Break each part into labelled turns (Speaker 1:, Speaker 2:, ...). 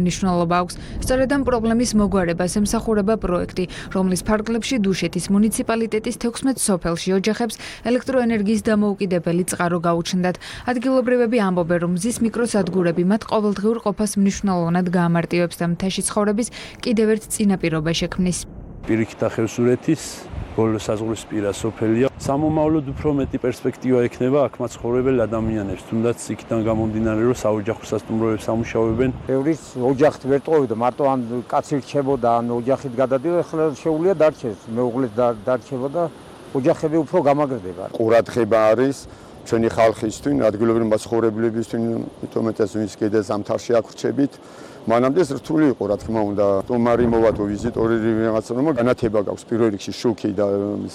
Speaker 1: მნიშვნელობა აქვს. სწორედ ამ პრობლემის მოგვარებას ემსახურება პროექტი, რომლის ფარგლებში დუშეთის მუნიციპალიტეტის 16 სოფელში ოჯახებს ელექტროენერგიის დამოუკიდებელი წყარო გაუჩნდათ. ადგილობრივები ამბობენ, რომ მზის მიკროსადგურები მათ ყოველდღიურ ყოფას მნიშვნელოვნად გაამარტივებს და მთაში ცხოვრების კიდევ ერთ წინაპირობა შექმნის.
Speaker 2: პირიქით ახევსურეთის ბოლო საზღვრისპირა სოფელია. სამომავლოდ უფრო მეტი პერსპექტივა ექნება აქ მაცხოვრებელ ადამიანებს, თუნდაც იქიდან გამომდინარე, რომ საოჯახო სასტუმროებს ამუშავებენ.
Speaker 3: ბევრის ოჯახით ვერ ტოვებდა, მარტო ან კაცი რჩებოდა, ან ოჯახით გადადიოდა, ახლა შეუძლია დარჩეს, მეუღლეს დარჩება და ოჯახები უფრო გამაგრდება.
Speaker 4: ყურადღება არის ჩვენი ხალხისთვის, ადგილობრივი მაცხოვრებლებისთვის, მეტომეტეს ვინც კიდე ზამთარში აქ რჩებით. მანამდე რთული იყო, რა თქმა უნდა, სტუმარი მოვადო, ვიზიტორი რაღაცა, რომ განათება გაქვს პირველ რიგში შუქი და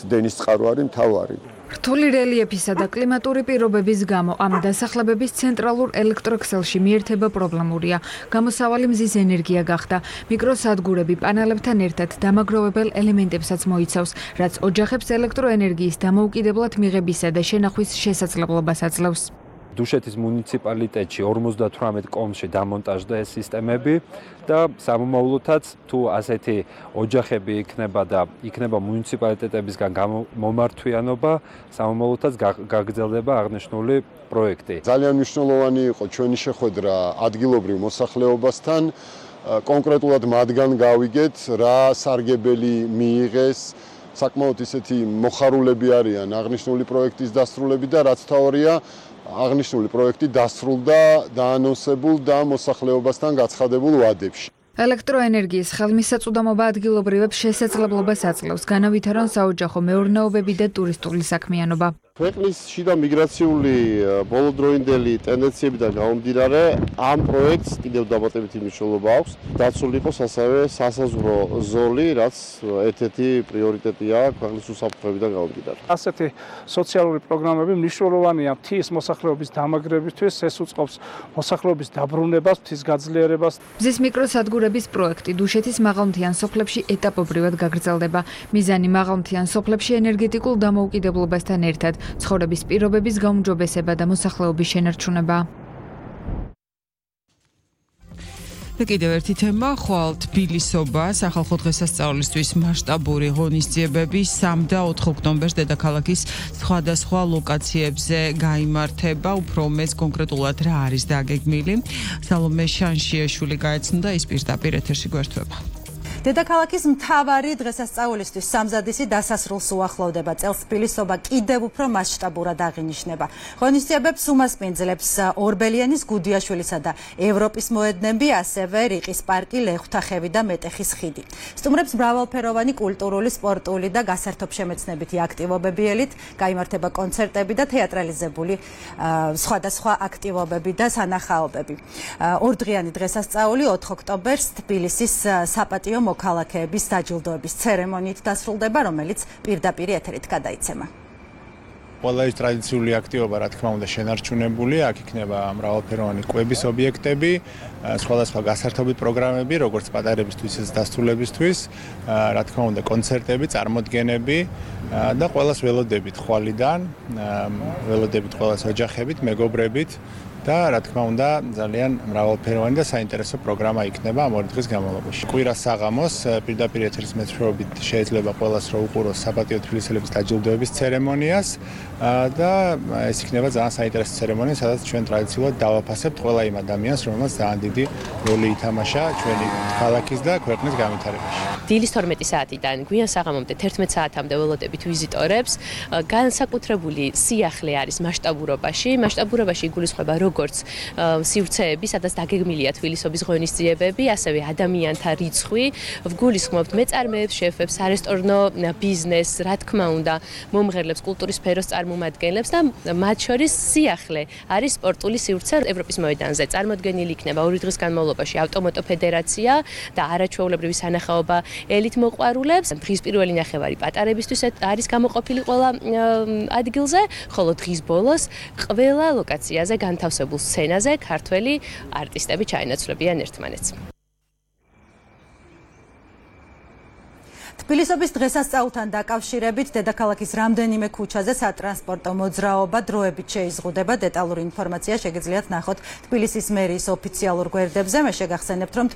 Speaker 4: დენის წყარო არის მთავარი.
Speaker 1: რთული რელიეფისა და კლიმატური პირობების გამო ამ დასახლებების ცენტრალურ ელექტროქსელში მიერთება პრობლემურია. გამოსავალი მზის ენერგია გახდა. მიკროსადგურები პანელებთან ერთად დამაგროვებელ ელემენტებსაც მოიცავს, რაც ოჯახებს ელექტროენერგიის დამოუკიდებლად მიღებისა და შენახვის შესაძლებლობას აძლევს.
Speaker 5: დუშეთის მუნიციპალიტეტში 58 კომში დამონტაჟდა ეს სისტემები და სამომავლოდაც თუ ასეთი ოჯახები იქნება და იქნება მუნიციპალიტეტებისგან მომართვიანობა, სამომავლოდაც გაგრძელდება აღნიშნული პროექტი.
Speaker 4: ძალიან მნიშვნელოვანი იყო ჩვენი შეხვედრა ადგილობრივ მოსახლეობასთან, კონკრეტულად მათგან გავიგეთ, რა სარგებელი მიიღეს. საკმაოდ ისეთი მოხარულები არიან აღნიშნული პროექტის დასრულებით და რაც თავარია აღნიშნული პროექტი დასრულდა დაანონსებულ და მოსახლეობასთან გაცხადებულ ვადებში.
Speaker 1: ელექტროენერგიის ხელმისაწვდომობა ადგილობრივებს შესაძლებლობას აძლევს განავითარონ საოჯახო მეურნეობები და ტურისტული საქმიანობა.
Speaker 6: ქვეყნის შიდა მიგრაციული ბოლოდროინდელი ტენდენციებიდან გამომდინარე, ამ პროექტს კიდევ დამატებითი მნიშვნელობა აქვს. დაცული იყოს ასევე სასაზღვრო ზოლი, რაც ერთ-ერთი პრიორიტეტია ქვეყნის უსაფრთხოებიდან გამომდინარე.
Speaker 7: ასეთი სოციალური პროგრამები მნიშვნელოვანია მთის მოსახლეობის დამაგრებისთვის, ეს უწყობს მოსახლეობის დაბრუნებას, მთის გაძლიერებას.
Speaker 1: მზის მიკროსადგურების პროექტი დუშეთის მაღალმთიან სოფლებში ეტაპობრივად გაგრძელდება. მიზანი მაღალმთიან სოფლებში ენერგეტიკულ დამოუკიდებლობასთან ერთად ცხოვრების პირობების გაუმჯობესება და მოსახლეობის შენარჩუნება.
Speaker 8: და კიდევ ერთი თემა, ხვალ თბილისობა სახალხო დღესასწაულისთვის მასშტაბური ღონისძიებები 3 და 4 ოქტომბერს დედაქალაქის სხვადასხვა ლოკაციებზე გაიმართება. უფრო მეც კონკრეტულად რა არის დაგეგმილი? სალომე შანშიაშვილი გაეცნო და ის პირდაპირ ეთერში გვერდება.
Speaker 9: დედაქალაქის მთავარი დღესასწაულისთვის სამზადისი დასასრულს უახლოვდება. წელს თბილისობა კიდევ უფრო მასშტაბურად აღინიშნება. ღონისძიებებს უმასპინძლებს ორბელიანის, გუდიაშვილისა და ევროპის მოედნები, ასევე რიყის პარკი, ლეხვთახევი და მეტეხის ხიდი. სტუმრებს მრავალფეროვანი კულტურული, სპორტული და გასართობშემეცნებითი აქტივობები ელით, გაიმართება კონცერტები და თეატრალიზებული სხვადასხვა აქტივობები და სანახაობები. ორდღიანი დღესასწაული 4 ოქტომბერს თბილისის საპატიო მოქალაქეების დაჯილდოების ცერემონიით დასრულდება, რომელიც პირდაპირ ეთერით გადაიცემა.
Speaker 10: ყველა ეს ტრადიციული აქტივობა, რა თქმა უნდა, შენარჩუნებული, აქ იქნება მრავალფეროვანი კვების ობიექტები, სხვადასხვა გასართობი პროგრამები, როგორც პატარებისთვის, ისე დასრულებისთვის, რა თქმა უნდა, კონცერტები, წარმოდგენები და ყველას ველოდებით ხვალიდან, ველოდებით ყველას ოჯახებით, მეგობრებით. და რა თქმა უნდა ძალიან მრავალფეროვანი და საინტერესო პროგრამა იქნება ამ ორი დღის განმავლობაში. კვირას საღამოს პირდაპირ ეთერის მეშვეობით შეიძლება ყველას რო უყუროს საპატიო თბილისელების დაჯილდოების ცერემონიას და ეს იქნება ძალიან საინტერესო ცერემონია, სადაც ჩვენ ტრადიციულად დავაფასებთ ყველა იმ ადამიანს, რომელმაც ძალიან დიდი როლი ითამაშა ჩვენი ქალაქის და ქვეყნის განვითარებაში.
Speaker 11: დილის 12 საათიდან გვიან საღამომდე 11 საათამდე ველოდებით ვიზიტორებს. განსაკუთრებული სიახლე არის მასშტაბურობაში. მასშტაბურობაში იგულისხმება როგორც სივრცეები, სადაც დაგეგმილია თბილისობის ღონისძიებები, ასევე ადამიანთა რიცხვი. ვგულისხმობთ მეწარმეებს, შეფებს, არესტორნო ბიზნესს, რა თქმა უნდა, მომღერლებს, კულტურის სფეროს წარმომადგენლებს და მათ შორის სიახლე არის სპორტული სივრცე ევროპის მოედანზე. წარმოდგენილი იქნება 2 დღის განმავლობაში ავტომოტო ფედერაცია და არაჩვეულებრივი სანახაობა ელით მოყვარულებს. დღის პირველი ნახევარი პატარებისთვის არის გამოყოფილი ყველა ადგილზე, ხოლო დღის ბოლოს ყველა ლოკაციაზე განთავსებულ სცენაზე ქართველი არტისტები ჩაენაცვლებიან ერთმანეთს.
Speaker 9: თბილისობის დღესასწაულთან დაკავშირებით დედაქალაქის რამდენიმე ქუჩაზე სატრანსპორტო მოძრაობა დროებით შეიზღუდება. დეტალური ინფორმაცია შეგიძლიათ ნახოთ თბილისის მერიის ოფიციალურ გვერდებზე. მე შეგახსენებთ, რომ